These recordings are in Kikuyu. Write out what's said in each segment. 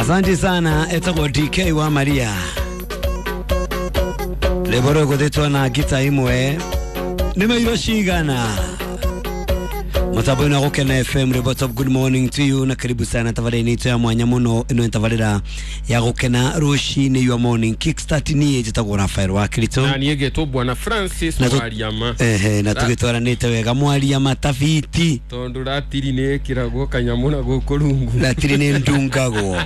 Asante sana etagwo DK wa Maria rwĩmbo rũgũthĩtwo na ngita imwe nĩ mairo cigana mutambo-inĩ wa Gũkena FM rwĩmbo top. Good morning to you na karibu sana tabarĩra-inĩ itũ ya mwanya mũno. Ĩno nĩ tabarĩra ya Gũkena rũcinĩ, your morning kickstart. Niĩ njĩtagwo Rafael wa Kirito. Na niĩ ngetwo Bwana Francis. Na Mwariama. Ehe, na tũgĩtwaranĩte wega Mwariama tabiti. Tondũ ratiri nĩ ĩkĩragwo kanyamũ na gũkũ rungu. Ratiri nĩ ndungagwo.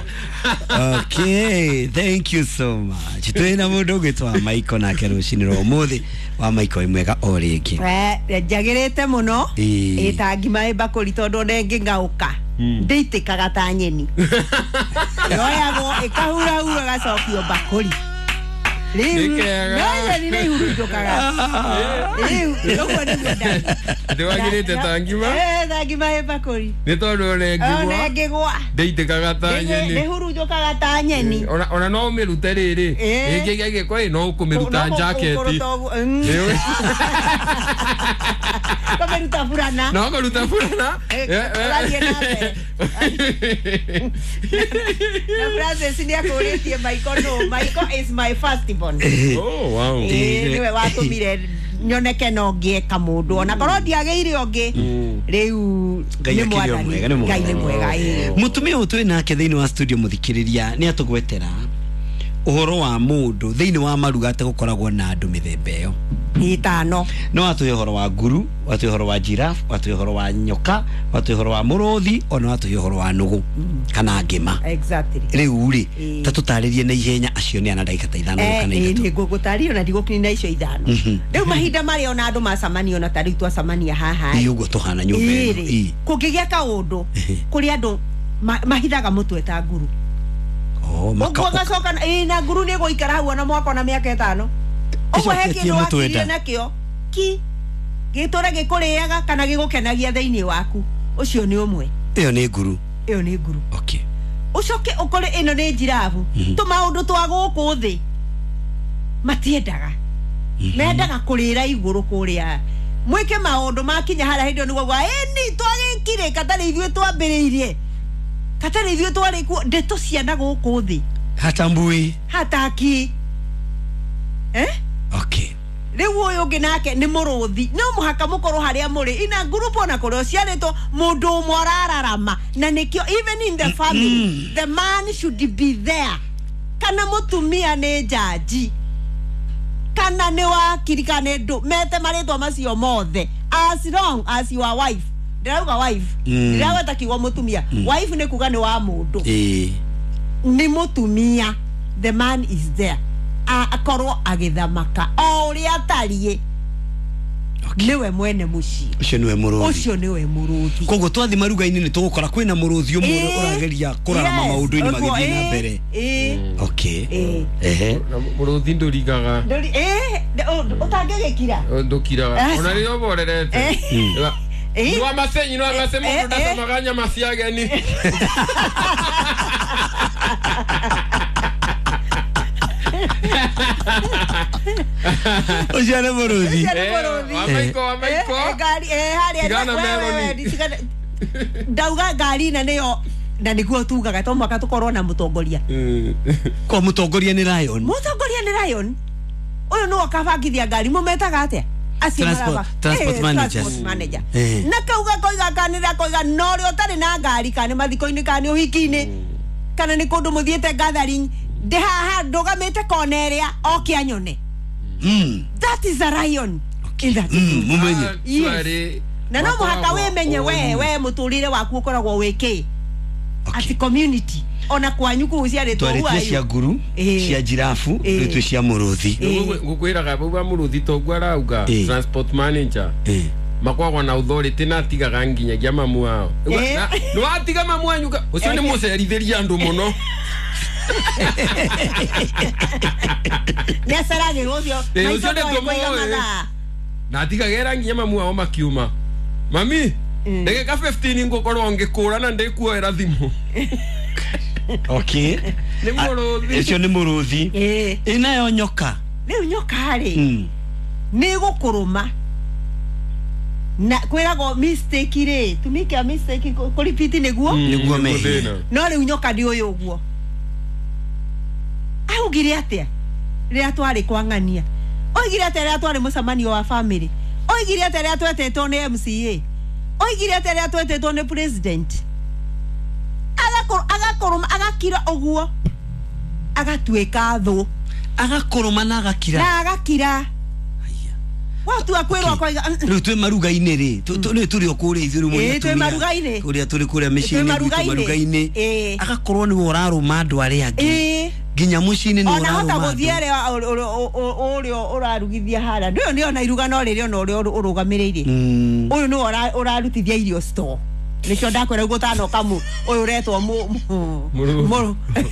Okay, thank you so much. Twĩna mũndũ ũngĩ wa Maiko nake rũcinĩ rwa ũmũthĩ. Wa Maiko, ĩ mwega o rĩngĩ? Njagĩrĩte mũno. Ĩĩ. Ĩ ta ngima ĩ mbakũri, tondũ ona ĩngĩng'aũka ndĩitĩkaga ta nyeni, yoyagwo ĩkahurahura ĩgacokio mbakũri rĩu. Nĩ kega. No nyeni nĩ ihurunjũkaga rĩu, ũguo nĩguo ndari. Ndĩwagĩrĩte ta ngima. Eh, ta ngima ĩ mbakũri. Nĩ tondũ ona ona ĩngĩgwa ĩngĩgwa ndĩitĩkaga ta nyeni. Ndĩhurunjũkaga ta nyeni. Ona no ũmĩrute rĩrĩ ĩngĩgĩa gĩko ĩ no ũkũmĩruta No njaketi. kũruta ũguo. Kũmĩruta burana. No kũruta burana. Ũrathiĩ na mbere. Na Francis nĩ akũrĩtie Maiko no Maiko is my first born. Oh, wow. Ĩĩ, nĩwe watũmire nyoneke no ngĩe kamũndũ ona korwo ndiagĩire ũngĩ rĩu. Ngai Nĩ akĩrĩ o Mwathani. mwega, nĩ Ngai nĩ mwega. mwega, ĩĩ. Mutumia ũyũ twĩ nake thĩinĩ wa studio, mũthikĩrĩria, nĩ atũgwetera ũhoro wa mũndũ thĩinĩ wa maruga atĩ gũkoragwo na andũ mĩthemba ĩyo Ĩtano. No watũhe ũhoro wa nguru, watũhe ũhoro wa giraffe, watũhe ũhoro wa nyoka, watũhe ũhoro wa mũrũthi, ona watũhe ũhoro wa nũgũ kana ngĩma. Rĩu rĩ, ta tũtarĩrie na ihenya acio nĩ ana, ndagĩka ta 5 kana 3. Nĩ ngũgũtarĩria ona ndigũkinyina icio 5. Rĩu mahinda marĩa ona andũ macamania, ona ta rĩu twacamania haha. Ĩ, ũguo tũhana nyũmba ĩno. Ĩrĩ kũngĩgĩa kaũndũ kũrĩ andũ mahithaga mũtwe ta nguru. Oh, ũguo gacoka ĩ na nguru nĩ gũikara hau ona mwaka ona mĩaka 5 ũguo he Ĩcoketie kĩndũ mũtwe wakirire nda. nakĩo ki gĩtũre gĩkũrĩaga kana gĩgũkenagia thĩinĩ waku. Ũcio nĩ ũmwe. Ĩyo nĩ nguru. Ĩyo nĩ nguru. Ũcoke ũkore ĩno nĩ njirabu. Tũmaũndũ twa gũkũ thĩ matiendaga, mendaga kũrĩra igũrũ kũrĩa mwĩke maũndũ makinya harĩa hĩndĩ ĩyo nĩguo gwa ĩni twagĩkire katarĩ ithuĩ twambĩrĩirie, katarĩ ithuĩ twarĩ kuo, ndeto ciana gũkũ thĩ. Hatambui. Hataki, eh? Rĩu ũyũ ũngĩ nake nĩ mũrũthi. No mũhaka mũkorwo harĩa mũrĩ ina ngurubu ona kũrĩa ũciarĩtwo mũndũ ũmwe ũrararama, na nĩkĩo even in the family the man should be there, kana mũtumia nĩ njanji kana nĩ wakiri kana nĩ ndũ mete marĩtwa macio mothe, as long as your wife, ndĩrauga wife, ndĩragweta kiugo mũtumia, wife nĩ kuga nĩ wa mũndũ, nĩ mũtumia, the man is there. Akorwo agĩthamaka o ũrĩa atariĩ, nĩwe mwene mũciĩ. Ũcio nĩwe mũrũthi. Ũcio nĩwe mũrũthi. Koguo twathi maruga-inĩ nĩ tũgũkora kwĩna mũrũthi ũmwe ũrĩa ũrageria kũrarama maũndũ-inĩ ũguo, magĩthiĩ na mbere. Ĩĩ. Ehe. Na mũrũthi ndũrigaga. Ndũri ũtangĩgĩkira. Ndũkiraga. Aca. Ona rĩrĩa ũborerete. Nĩ wa macenyi, nĩ wa mase mũndũ ndacamaga nyama cia ageni. Ũcio nĩ mũrũthi. Ũcio nĩ mũrũthi. Wa Maiko, wa Maiko. Ngari harĩa Tigana we, Meloni. Ndauga ngari na nĩyo na nĩguo tugaga to mũhaka tũkorwo na mũtongoria. Kwa mũtongoria nĩ lion. Mũtongoria nĩ lion. Ũyũ nĩwe ũkabangithia ngari, mũmetaga atĩa acio? Transport managers. Transport manager. Na kauga koiga kanĩra koiga no ũrĩa ũtarĩ na ngari, kana nĩ mathiko-inĩ kana nĩ ũhiki-inĩ kana nĩ kũndũ mũthiĩte gathering, ndĩ haha ndũgamĩte kona ĩrĩa oke anyone. That is a lion in that group. Mũmenye. Yes. Actually, Na no mũhaka makoragwo wĩmenye we ũru. we mũtũrĩre waku ũkoragwo wĩ kĩ ati community ona kwanyu kũu ciarĩtwo. Twarĩtie cia nguru, cia jirabu, rĩu twĩ cia mũrũthi. Ngũkwĩraga bau ba mũrũthi toguo arauga, transport manager makoragwo na authority na atigaga nginyagia mamu wao. Nĩ watiga mamu wanyu ũcio nĩ mũcerithĩria andũ mũno. Nĩ aceragĩrwo ũcio. Ĩĩ, Maitho ũcio nĩ ndoĩ kũiga tũmũĩ. mathaa. Na atigagĩra nginya mamu wao makiuma, mami, ndagĩka 15 ngũkorwo ngĩkũra na ndĩkuoera thimũ. Nĩ mũrũthi. Ũcio nĩ mũrũthi. Ĩnayo nyoka? Rĩu nyoka rĩ, nĩ gũkũrũma na kwĩragwo mistake rĩ, tumike a mistake kũripiti nĩguo. Nĩguo mehia. Thĩna. No rĩu nyoka nĩ ũyũ ũguo. Augire atia rĩrĩa twarĩ kwang'ania, oigire atĩa rĩrĩa twarĩ mũcemanio wa family, oigire atĩa rĩrĩa twetetwo nĩ MCA, oigire atĩa rĩrĩa twetetwo nĩ president. Agakorwo agakira ũguo, agatuĩka thũ, agakoroma na agakira, na agakira. Watua kwĩrwo akoiga rĩu twĩ maruga-inĩ rĩ, rĩu tũrĩ o kũrĩa ithuĩ rĩu mũrĩ twĩ maruga-inĩ, kũrĩa tũrĩ kũrĩa mĩciĩ-inĩ gwitũ maruga-inĩ, agakorwo nĩwe ũrarũma andũ arĩa angĩ nginya mũciĩ-inĩ nĩwe ũrarũma ona hota gũthiĩ arĩa ũrĩa ũrarugithia harĩa ndũyũ nĩ ona iruga no rĩrĩ ona ũrĩa ũrũgamĩrĩire ũyũ nĩwe ũrarutithia irio store. Nĩkĩo ndakwĩra ũguo ũtanoka ũyũ ũretwo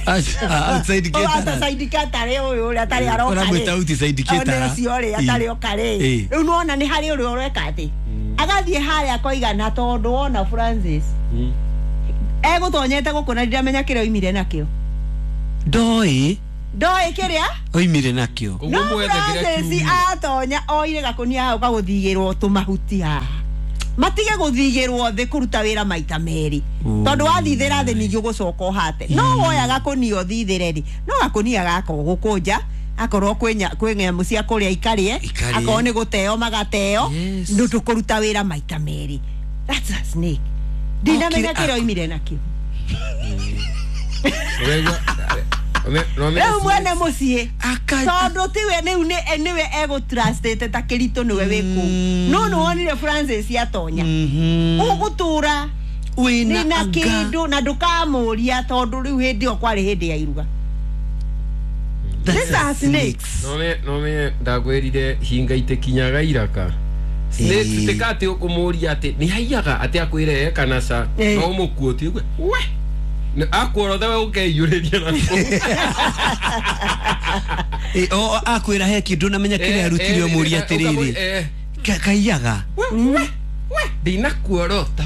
outside caterer, outside caterer ũyũ ũrĩa atarĩ aroka rĩ, ũramwĩta outside caterer ũcio rĩ atarĩ oka rĩ, rĩu nĩwona nĩ harĩ ũrĩa ũreka atĩ agathiĩ harĩa akoiga na tondũ wona Francis egũtonyete gũkũ na ndiramenya kĩrĩa oimire nakĩo, ndoĩ kĩrĩa oimire nakĩo. No Francis atonya oire gakũnia hau gagũthigĩrwo tũmahuti haha, matige gũthigĩrwo thĩ kũruta wĩra maita merĩ, tondũ wathithĩra thĩ ningĩ ũgũcoka ũhate. No woya gakũnia ũthithĩre rĩ, no gakũnia gaka ũgũkũnja, akorwo kwĩ nyamũ cia kũrĩa ikarĩe, akorwo nĩ gũteo magateo, ndũkũruta wĩra maita merĩ. That's a snake. Ndinamenya kĩrĩa oimire nakĩo. Rĩu mwene mũciĩ tondũ tiwe rĩu nĩwe egũtrustĩte ta kĩritũ nĩwe wĩ kũu, no nĩwonire Francis atonya ũgũtũra wĩna kĩndũ na ndũkamũria tondũ rĩu hĩndĩ ĩyo kwarĩ hĩndĩ ya iruga. These are snakes. No me ndakwĩrire hinga itikinyaga iraka. Snakes tikatĩ ũkũmũria atĩ nĩ haiyaga atĩ akwĩre kana ca no ũmũkuotie ũgue we akworo we ũkeiyũrĩria na o akwĩra he kĩndũ namenya kĩrĩa arutire ũmũria atĩrĩrĩ kaiyaga we ndinakuorota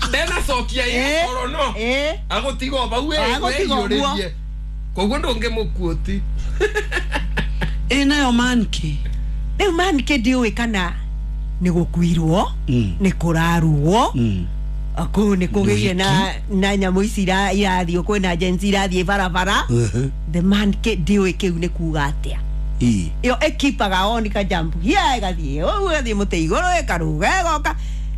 ndenacokia ĩkoro no agũtiga bau wĩiyũrĩrie koguo ndũngĩmũkuoti. Ĩ nayo manke rĩu manke ndiũĩ kana nĩ gũkuirwo nĩ kũrarugwo kũu nĩ kũgĩire na nyamũ ici irathiĩ kwĩna agency irathiĩ barabara. The man ndiũĩ kĩu nĩ kuga atĩa. Ĩyo ĩkipaga on kajambu hia ĩgathiĩ ũguo ĩgathiĩ mũtĩ igũrũ ĩkaruga ĩgoka.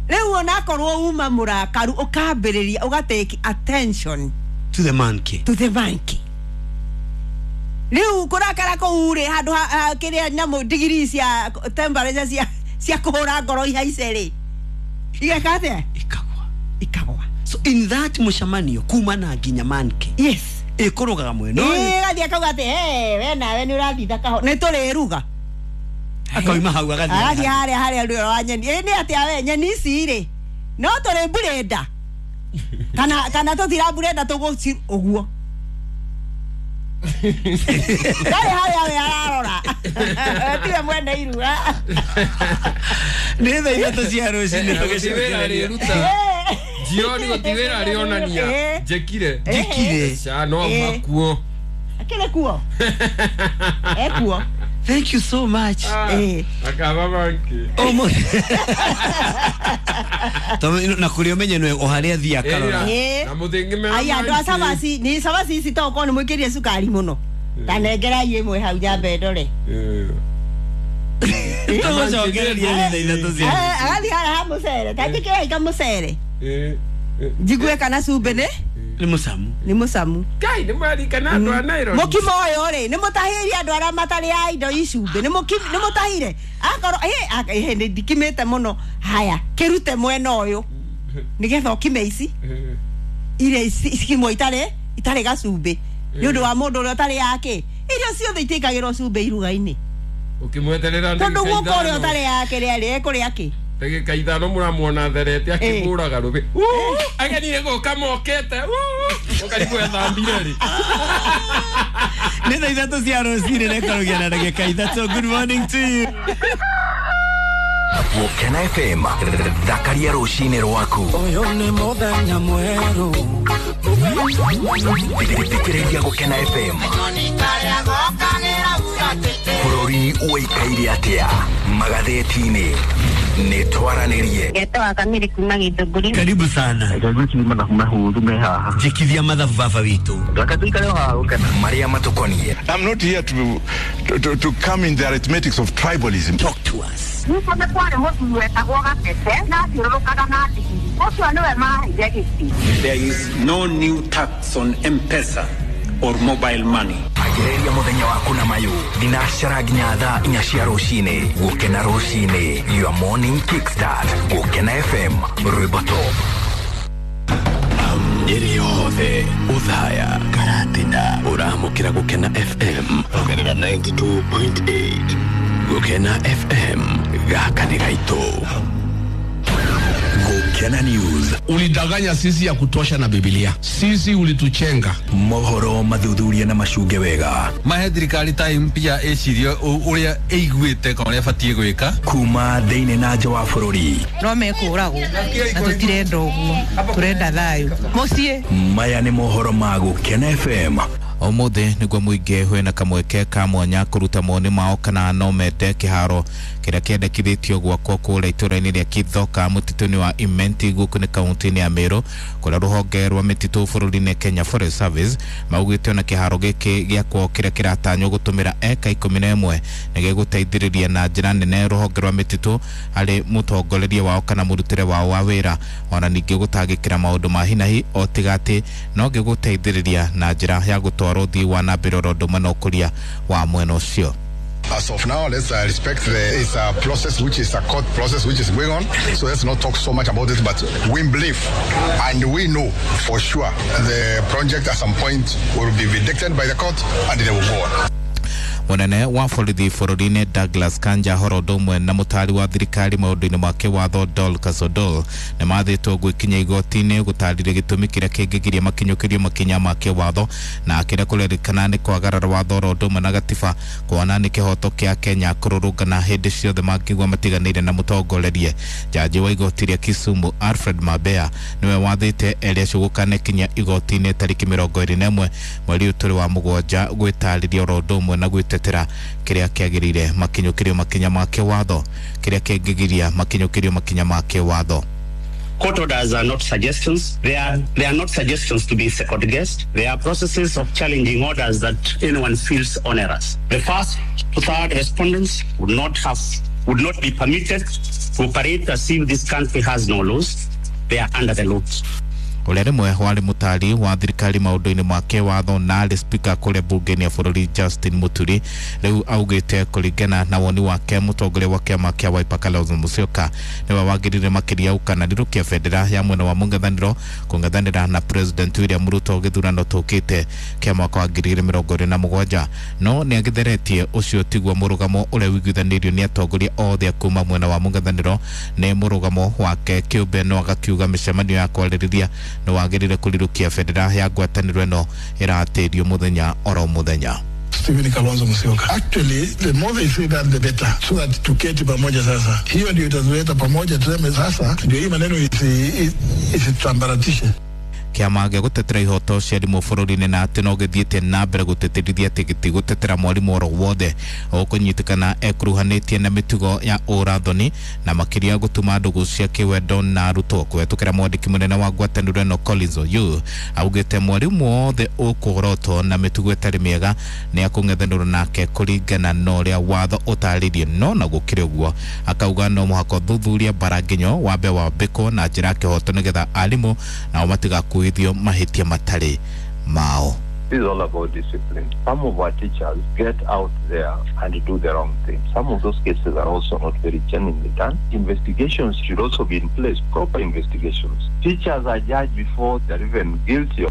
Rĩu onakorwo uma mũrakaru ũkambĩrĩria ũgatake attention to the monkey, to the monkey. Rĩu kũrakara kũu rĩ handũ kĩrĩa nyamũ ndigiri cia temperature cia kũhũra ngoro ihaice rĩ igeka atĩa, ikagwa. So in that mũcemanio kuma na nginya manke, yes, ĩkũrũgaga mwena ũyũ ĩgathiĩ akauga atĩ we nawe nĩ ũrathitha kaho nĩ tũrĩruga, akauma hau agathiĩ harĩa harĩa rwĩro wa nyeni. Ĩ nĩ atĩa we nyeni ici rĩ no tũrĩ mburenda kana tũtiramburenda tũgũci ũguo ndarĩ harĩa we ararora tiwe mwene iruga. Nĩ thaa ithatũ cia rũcinĩ tũgĩcokereria jioni gũtiwĩra rĩonania njĩkire ca no auma kuo akĩrĩ kuo ekuo. Thank you so much. Akaba manke na kũrĩa ũmenye nĩwe o harĩa athiĩ akarora na mũthĩngĩ mena aya andũ a cabaci nĩ cabaci ici tokorwo nĩ mwĩkĩrire cukari mũno tanengerai ĩmwe hau nyambe ndore tũgũcokereria nĩ thaa ithatũ cia agathiĩ harĩa ha mũcere ta njĩkĩrai kamũcere njigue kana cumbĩ nĩ mũcamu, nĩ mũcamu. Kai nĩ mwarikana andũ a Nairobi mũkimo ũyũ rĩ nĩ mũtahĩire andũ arĩa matarĩ a indo i cumbĩ, nĩ mũtahire akorwo nĩ ndikimĩte mũno haya kĩrute mwena ũyũ nĩgetha ũkime ici iria cikimwo itarĩ gacumbĩ nĩ ũndũ wa mũndũ ũrĩa ũtarĩ yake. Irio ciothe itiĩkagĩrwo cumbĩ iruga-inĩ ũkĩmweterera tondũ guoko ũrĩa ũtarĩ yake rĩ ekũrĩa kĩ ndagĩka ithano mũramuona therete akĩhũraga rũbĩ ageni nĩ gũka mokete ũkarigwo ethambire rĩ. Nĩ thaa ithatũ cia rũcinĩ na ĩkarũgia na ndagĩka ithatũ. Good morning to you. Gũkena FM thakaria rũcinĩ rwaku. Ũyũ nĩ mũthenya mwerũ Thikĩrĩria Gũkena FM. Bũrũri ũikaire atĩa magathĩti-inĩ. Nĩ twaranĩrie. Getwa kamiri kuma Githũngũri. Karibu sana. Njikithia mathabu baba witũ. Marĩa matũkoniĩ. I'm not here to come in the arithmetics of tribalism. Talk to us. Nĩkũ nĩ kwarĩ mũthuri wetagwo Gatete na athiũrũrũkaga na ndigiri. Ũcio nĩwe maheire gĩtĩ. There is no new tax on M-Pesa or mobile money. Ambĩrĩria mũthenya waku na mayũ thinacara nginya thaa 4 cia rũcinĩ. Gũkena rũcinĩ, your morning kickstart. Gũkena FM, rwĩmbo top. Nyeri yothe uthaya Karatina ũramũkĩra Gũkena FM ongerera 92.8. Gũkena FM gaka nĩ gaitũ. Gũkena News. Ulidanganya sisi ya kutosha na Biblia. Sisi ulituchenga. Mohoro mathuthuria na macunge wega. Mahe thirikari time pia ĩcirie ũrĩa ĩiguĩte kana ũrĩa ĩbatiĩ gwĩka. Kuma thĩinĩ na nja wa bũrũri. No mekũragwo na tũtirenda ũguo, tũrenda thayũ mũciĩ. Maya nĩ mohoro ma Gũkena FM. Ũmũthĩ nĩguo mũingĩ wĩna kamweke ka mwanya kũruta mawoni mao kana no mende kĩharo kĩrĩa kĩendekithĩtio gwakwo kũrĩa itũũra-inĩ rĩa Kithoka mũtitũ-inĩ wa Imenti gũkũ nĩ kaunti-inĩ ya Meru kũrĩa rũhonge rwa mĩtitũ bũrũri-inĩ Kenya Forest Service maugĩte ona kĩharo gĩkĩ gĩakwo kĩrĩa kĩratanywo gũtũmĩra eka 11 nĩ gĩgũteithĩrĩria na njĩra nene rũhonge rwa mĩtitũ harĩ mũtongoreria wao kana mũrutĩre wao wa wĩra ona ningĩ gũtangĩkĩra maũndũ ma hinahi o tiga atĩ no gĩgũteithĩrĩria na njĩra ya gũtwara ũthii wa na mbere oro ũndũ ũmwe na ũkũria wa mwena ũcio. As of now, let's respect it's a process which is a court process which is going on. So let's not talk so much about it, but we believe and we know for sure the project at some point will be vindicated by the court and they will go on. Mũnene wa borithi bũrũri-inĩ Douglas Kanja horo ũndũ ũmwe na mũtaari wa thirikari maũndũ-inĩ ma kĩwatho Dorcas Odol nĩ mathĩtwo gwĩkinya igoti-inĩ gũtarĩria gĩtũmi kĩrĩa kĩngĩgiria makinyũkĩrio makinya ma kĩwatho na kĩrĩa kũrerĩkana nĩ kwagarara watho oro ũndũ ũmwe na gatiba kuona nĩ kĩhoto kĩa Kenya kũrũrũngana hĩndĩ ciothe mangĩigua matiganĩire na mũtongorerie. Jaji wa igoti rĩa Kisumu Alfred Mabea nĩwe wathĩte erĩ acio gũkanekinya igoti-inĩ tarĩki 21 mweri ũyũ tũrĩ wa mũgwanja gwĩtarĩria oro ũndũ ũmwe na gwĩtetera kĩrĩa kĩagĩrĩire makinyũkĩrio makinya ma kĩwatho kĩrĩa kĩngĩgiria makinyũkĩrio makinya ma kĩwatho. Court orders are not suggestions. They are not suggestions to be second guessed. They are processes of challenging orders that anyone feels onerous. The first to third respondents would not be permitted to operate as if this country has no laws. They are under the law. Ũrĩa rĩmwe warĩ mũtaari wa thirikari maũndũ-inĩ ma kĩwatho na arĩ spika kũrĩa mbunge-inĩ ya bũrũri Justin Muturi rĩu augĩte kũringana na woni wake mũtongoria wa kĩama kĩa Wiper Kalonzo Musyoka nĩwe wagĩrĩire makĩria gũkananĩrũkia bendera ya mwena wa mũng'ethanĩro kũng'ethanĩra na President William Ruto gĩthurano tũkĩte kĩa mwaka wa 2027 no nĩagĩtheretie ũcio tiguo mũrũgamo ũrĩa ũiguithanĩirio nĩ atongoria othe kuma mwena wa mũng'ethanĩro nĩ mũrũgamo wake kĩũmbe no agakiuga mĩcemanio ya kwarĩrĩria nĩ wagĩrĩire kũrirũkia bendera ya ngwatanĩro ĩno ĩratĩrio mũthenya oro mũthenya. Stephen Kalonzo Musyoka. Actually, the more they say that, the better, so that tuketi pamoja sasa. Hiyo ndio itatuleta pamoja, tuseme sasa ndio hii maneno isitambaratishe. Kĩama gĩa gũtetera ihoto cia arimũ bũrũri-inĩ na atĩ no gĩthiĩte na mbere gũtĩtĩrithia atĩ gĩtigũtetera mwarimũ oro wothe ũkũnyitĩkana ekuruhanĩtie na mĩtugo ya ũrathoni na makĩria gũtuma ndũgũ cia kĩwendo na arutwo kũhetũkĩra mwandĩki mũnene wa ngwatanĩro ĩno Collins Oyuu augĩte mwarimũ wothe ũkũgorotwo na mĩtugo ĩtarĩ mĩega nĩ akũng'ethanĩrwo nake kũringana na ũrĩa watho ũtarĩirie no na gũkĩrĩ ũguo akauga no mũhaka ũthuthuria bara nginyo wambe wambĩkwo na njĩra ya kĩhoto nĩgetha arimũ nao matigakuithio mahĩtia matarĩ mao. This is all about discipline. Some of our teachers get out there and do the wrong thing. Some of those cases are also not very genuinely done. Investigations should also be in place, proper investigations. Teachers are judged before they're even guilty.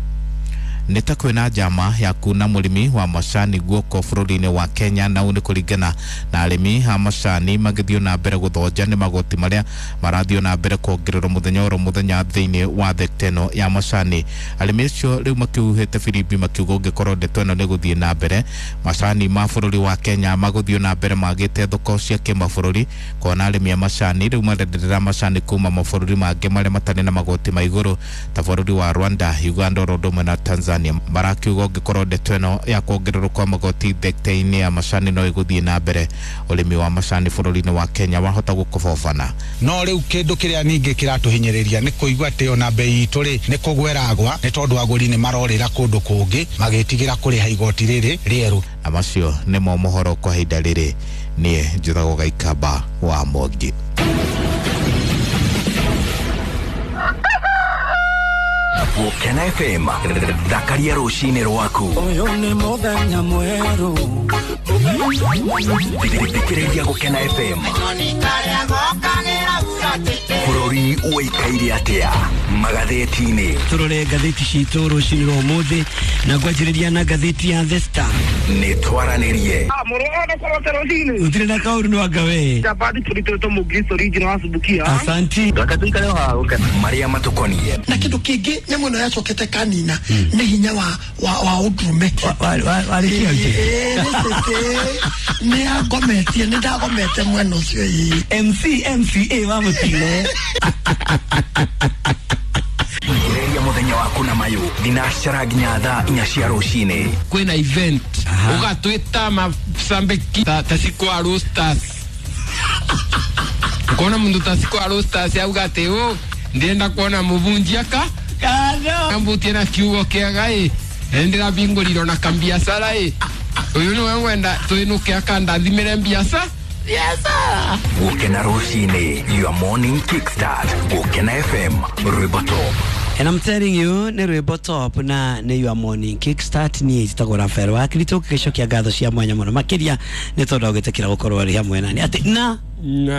Nĩ ta kwĩna njama ya kuna mũrĩmi wa macani guoko bũrũri-inĩ wa Kenya na ũũ nĩ kũringana na arĩmi a macani magĩthiĩ na mbere gũthonja nĩ magoti marĩa marathiĩ na mbere kuongererwo mũthenya oro mũthenya thĩinĩ wa thekta ĩno ya macani. Arĩmi acio rĩu makĩhuhĩte firimbi makiuga ũngĩkorwo ndeto ĩno nĩ gũthiĩ na mbere macani ma bũrũri wa Kenya magũthiĩ na mbere magĩte thoko cia kĩmabũrũri kuona arĩmi a macani rĩu marenderera macani kuma mabũrũri mangĩ marĩa matarĩ na magoti ma igũrũ ta bũrũri wa Rwanda, Uganda oro ũndũ ũmwe na Tanzania. Tanzania marakiuga ũngĩkorwo ndeto ĩno ya kuongererwo kwa magoti thekta-inĩ ya macani no ĩgũthiĩ na mbere, ũrĩmi wa macani bũrũri-inĩ wa Kenya wahota gũkobobana. No rĩu kĩndũ kĩrĩa ningĩ kĩratũhinyĩrĩria nĩ kũigua atĩ ona bei itũ rĩ nĩ kũgweragwa nĩ tondũ agũri nĩ marorĩra kũndũ kũngĩ magĩtigĩra kũrĩha igoti rĩrĩ rĩerũ. Na macio nĩmo mohoro kwa ihinda rĩrĩ. Niĩ njĩtagwo Gaikamba wa Mwangi. Gũkena FM, thakaria rũcinĩ rwaku. Ũyũ nĩ mũthenya mwerũ. Thikĩrĩria Gũkena FM. Bũrũri ũikaire atĩa magathĩti-inĩ? Tũrore ngathĩti citũ rũcinĩ rwa ũmũthĩ na ngwanjĩrĩria na ngathĩti ya The Star. Nĩ twaranĩrie. Gũtirĩ na kaũndũ nĩ wanga we. Asanti. Marĩa matũkoniĩ na kĩndũ kĩngĩ nyamũ ĩno yacokete kanina nĩ hinya wa ũndũrũme. Nĩ angometie, nĩ ndagomete mwena ũcio. MC MCA wa mũtino. Thikĩrĩria mũthenya waku na mayũ thinacara nginya thaa 4 cia rũcinĩ. Kwĩna event ũgatwĩta macambĩki ta Cikwa Roasters. Ukona mundu ta Cikwa Roasters auga atĩ ũ ndĩrenda kuona mũbunjia ka ambutie na kiugo kĩega ĩ ndĩrabingũrirwo na kambiacara ĩ ũyũ nĩwe ngwenda twĩnũke akandathimĩre mbiaca. Gũkena rũcinĩ, your morning kickstart. Gũkena FM, rwĩmbo top. And I'm telling you, nĩ rwĩmbo top na nĩ your morning kickstart. Niĩ njĩtagwo Rafael wa Kristo, gĩcokia ngatho cia mwanya mũno makĩria nĩ tondũ ũgĩtĩkĩra gũkorwo arĩ hamwe nani atĩ na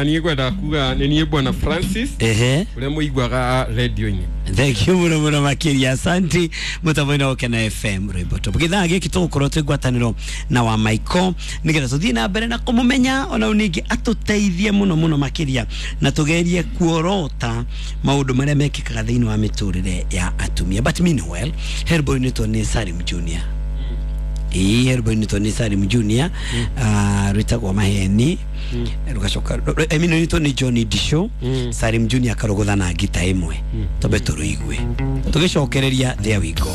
niĩ ngwenda kuga nĩ niĩ Bwana Francis ũrĩa mũiguaga radio-inĩ. Thank you mũno mũno makĩria, asanti mũtambo-inĩ wa Gũkena FM rwĩmbo top. Gĩthaa gĩkĩ tũgũkorwo twĩ ngwatanĩro na wa Michael nĩgetha tũthiĩ na mbere na kũmũmenya ona ningĩ atũteithie mũno mũno makĩria na tũgerie kuorota maũndũ marĩa mekĩkaga thĩinĩ wa mĩtũrĩre ya atumia. But meanwhile, herbo initwo nĩ Salim Junior. Ĩĩ, herbo initwo nĩ Salim Junior, rwĩtagwo Maheni. Rugacoka I mean initwo nĩ Johnny Disho. Salim Junior akarogotha na ngita ĩmwe. Tobe tũrũigue tũgĩcokereria. There we go.